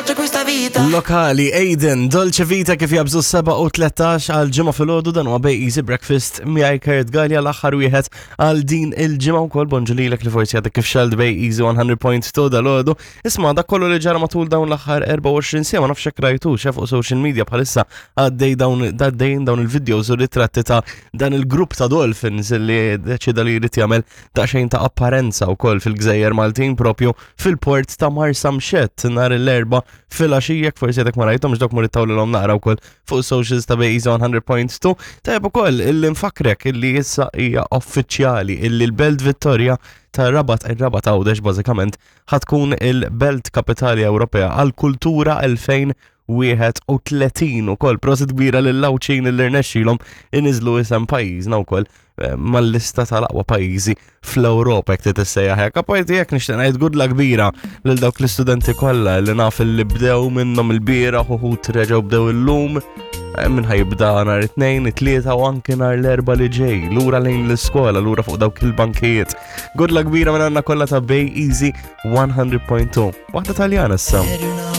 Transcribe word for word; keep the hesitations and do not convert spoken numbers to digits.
piace questa vita. Lokali, Aiden, Dolce Vita kif jabżu seba u tlettax għal ġimgħa filgħodu. Dan huwa Bay Easy Breakfast miegħi Kurt Gallia, l-aħħar wieħed għal din il-ġimgħa wkoll. Bonġu lilek li forsi għadek kif xgħelt Bay Easy mija punt tnejn dalgħodu. Isma', dak kollu li ġara matul dawn l-aħħar erbgħa u għoxrin siegħa, ma nafx hekk rajtu fuq social media, bħalissa għaddej dawn għaddejn dawn il-videos u ritratti ta' dan il-grupp ta' dolphins li deċida li jrid jagħmel daqsxejn ta' apparenza wkoll fil-Gżejjer Maltin, propju fil-port ta' Marsamxett nhar l-Erbgħa filgħaxija. Forsi għadek ma rajthomx dok, mur ittawlilhom naqra wkoll fuq socials ta' Bay Easy mija punt tnejn. Tajjeb ukoll illi nfakrek illi issa hija uffiċjali illi l-Belt Vittoria ta' Rabat, ir-Rabat Għawdex bażikament, ħa tkun il-Belt Kapitali Ewropea għal-Kultura elfejn u wieħed u tletin ukoll. Prosit kbira lill-Għawdxin li rnexxilhom iniżlu isem pajjiżna wkoll eh, mal-lista tal-aqwa pajjiżi fl-Ewropa, jekk tissejjaħ hekk. Apparti jekk, nixtieq ngħid good luck kbira lil dawk l-istudenti kollha li naf li bdew minnhom il-bieraħ, uħud reġgħu bdew illum eh, min ħa jibda nhar it-Tnejn, it-Tlieta u anke nhar l-Erbgħa li ġej, lura lejn l-iskola, lura fuq dawk il-bankijiet. Good luck kbira minn għandna kollha ta' Bay Easy mija punt tnejn. Waħda Taljana issa. Eri una